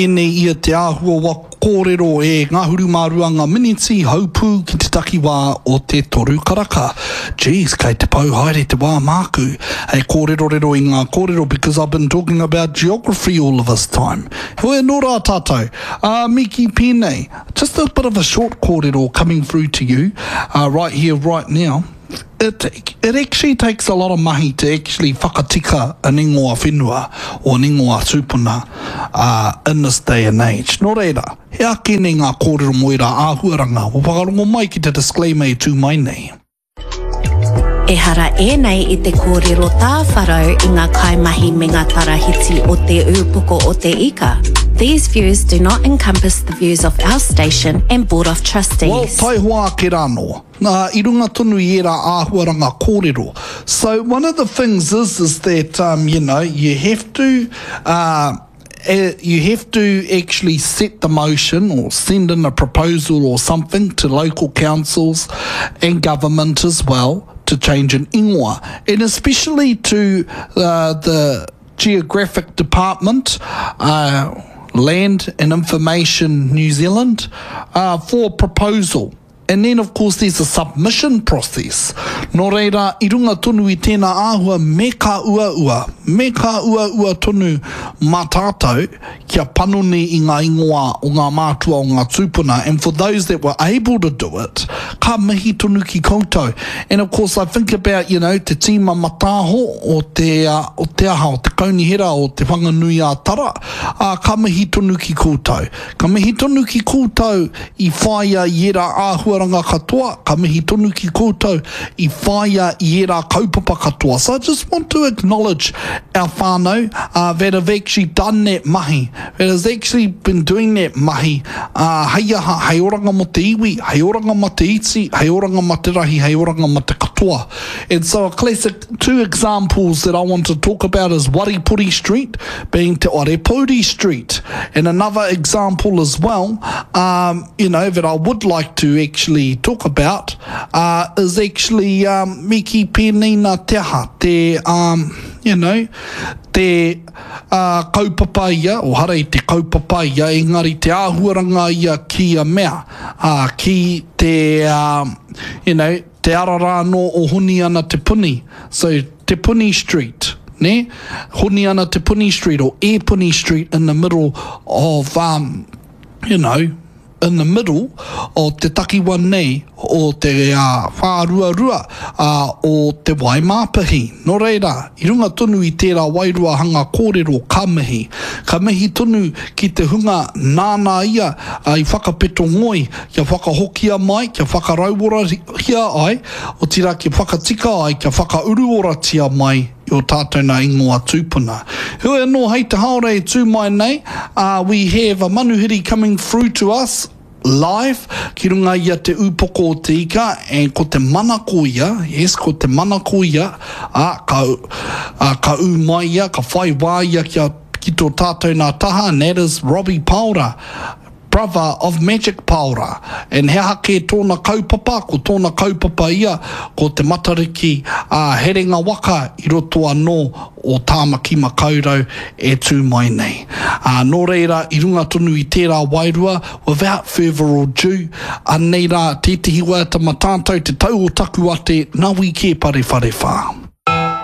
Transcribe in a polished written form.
Tēnei ia te āhua wa kōrero e ngahuru mā rua ngā miniti haupū ki te takiwā o te toru karaka. Geez, kei te pau haere te wā māku hei kōrerorero i ngā kōrero because I've been talking about geography all of this time. Heoi anō rā tātou, ā, me kī pēnei, just a bit of a short kōrero coming through to you right here, right now. It, it actually takes a lot of mahi to actually whakatika an ingoa whenua or an ingoa tūpuna uh, in this day and age. Nō reira, he ake nei ngā kōrero mō ērā āhuaranga. Kua whakarongo mai ki te disclaimer e tū mai nei. Ehara ēnei i te kōrero tāwharau i ngā kaimahi me ngā tarahiti o Te Ūpoko o Te Ika. These views do not encompass the views of our station and Board of Trustees. Well, taihoa ake rānō. Nā, i runga tonu i ērā āhuaranga kōrero. So, one of the things is, is that, um, you know, you have to, uh, you have to actually set the motion or send in a proposal or something to local councils and government as well to change an ingoa. And especially to uh, the Geographic Department, uh, Land and Information New Zealand, uh, for proposal. And then of course there's a submission process. Nō reira, i runga tonu i tēnā āhua me ka uaua, me ka uaua tonu mā tātou kia panoni i ngā ingoa o ngā mātua o ngā tūpuna and for those that were able to do it, ka mihi tonu ki koutou. And of course I think about, you know, te tīma mataaho o te, o te aha, o te kaunihera o Te Whanganui-ā-Tara, ā, ka mihi tonu ki koutou. Ka mihi tonu ki koutou i whāia i ērā āhuaranga katoa, ka mihi tonu ki koutou i whāia i ērā kaupapa katoa. So I just want to acknowledge our whānau uh, that have actually done that mahi, that has actually been doing that mahi, uh, hei aha, hei oranga mō te iwi, hei oranga mā te iti, hei oranga mā te rahi, hei oranga mā te katoa. And so a classic two examples that I want to talk about is Waripori Street being Te Arepouri Street. And another example as well, um, you know, that I would like to actually talk about uh, is actually um, Miki Penina Te Aha, te, um, you know, te uh, kaupapa ia, o hara i te kaupapa ia, engari te āhuaranga ia ki a mea, uh, ki te, um, you know, Te ara rā anō o Honiana Te Puni, so Te Puni Street, nē? Honiana Te Puni Street or Epuni Street in the middle of, um, you know, in the middle o te takiwa nei o te uh, whāruarua uh, o Te Waimāpihi. Nō reira, i runga tonu i tērā wairua hanga kōrero ka mihi. Ka mihi tonu ki te hunga nāna ia uh, i whakapeto ngoi kia whakahokia mai, kia whakarauorahia ai, otirā kia whakatika ai, kia whakauruoratia mai i ō tātou nā ingoa tūpuna. Heoi anō, hei te haora e tū mai nei, ā, we have a manuhiri coming through to us live ki runga i a Te Ūpoko o Te Ika, and ko te manako ia, yes, ko te manako ia, ā, ka, ā, ka ū mai ia, ka whai wā ia kia, ki tō tātou nā taha, and that is Robbie Paora. Brother of Magic Paora, and he aha kē tōna kaupapa, ko tōna kaupapa ia ko te Matariki ā Herenga Waka i roto anō o Tāmaki Makaurau e tū mai nei. Ā, nō reira, i runga tonu i tērā wairua, without further ado, anei rā tētehi waiata ma tātou te tau o taku ate, Nawi Kē Parewharewha.